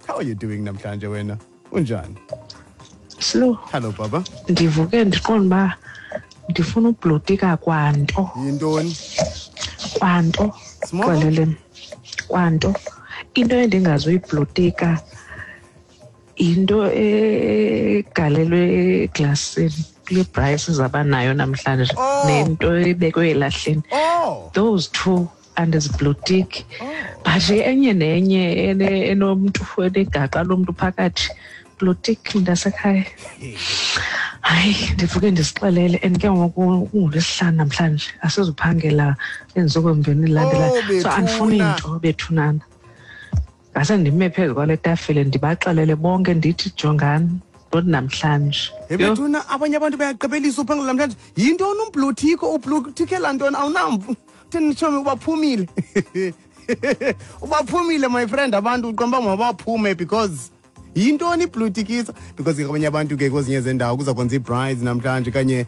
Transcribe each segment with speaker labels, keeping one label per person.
Speaker 1: How are you doing namhlanje wena? Unjani?
Speaker 2: Slow.
Speaker 1: Hello baba.
Speaker 2: Ndivuke ndiqonda uba ndifuna ublotika kwanto.
Speaker 1: Yintoni?
Speaker 2: Kwanto.
Speaker 1: Small?
Speaker 2: Xeleleni. Kwanto. Into endingazuyiblotika yinto egalelwe eglasini kule braai sizaba nayo namhlanje
Speaker 1: Oh.
Speaker 2: nento ebekwe elahleni.
Speaker 1: Oh.
Speaker 2: Those two andiziblotiki. But enye nenye enomntu, enegaqa lomntu phakathi, blotik mntasekhaya. Hayi, ndivuke ndizixelele, and ke ngoku kungolwesihlanu namhlanje, asizuphangela iintsuku ezimbini zilandelayo.
Speaker 1: Oh,
Speaker 2: So andifuni
Speaker 1: bethuna.
Speaker 2: nto bethunana. Ngase ndime phezu kwale tafile ndibaxelele bonke ndithi jongani, not namhlanje.
Speaker 1: Hey
Speaker 2: Yho.
Speaker 1: bethuna, abanye abantu bayagqibelisa uphangela namhlanje. Yintoni umbluthiko? Ubluthikela ntoni? Awunamvu. Thini tshomi, ubaphumile. Ubaphumile my friend, abantu uqonda uba mabaphume because yintoni iblutikisa? Because ke abanye abantu ke kwezinye zendawo kuza kwenza ii-brides namhlanje kanye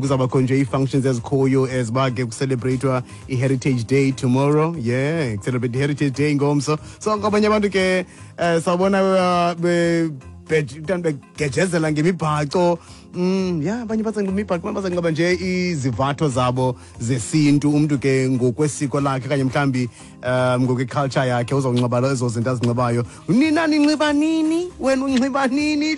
Speaker 1: kuzawubakho nje ii-functions ezikhoyo as uba ke kucelebrate-wa i-Heritage Day tomorrow. Yeah, celebrate i-Heritage Day ngomso. So kwabanye abantu ke sawubona begejezela ngemibhaco. Ya, abanye bazanxiba imibhaco, abanye bazanxiba nje izivatho zabo zesintu. Umntu ke ngokwesiko lakhe okanye mhlawumbi ngokweculture yakhe uzawunxiba ezo zinto azinxibayo. Nina ninxiba nini? Wena unxiba nini?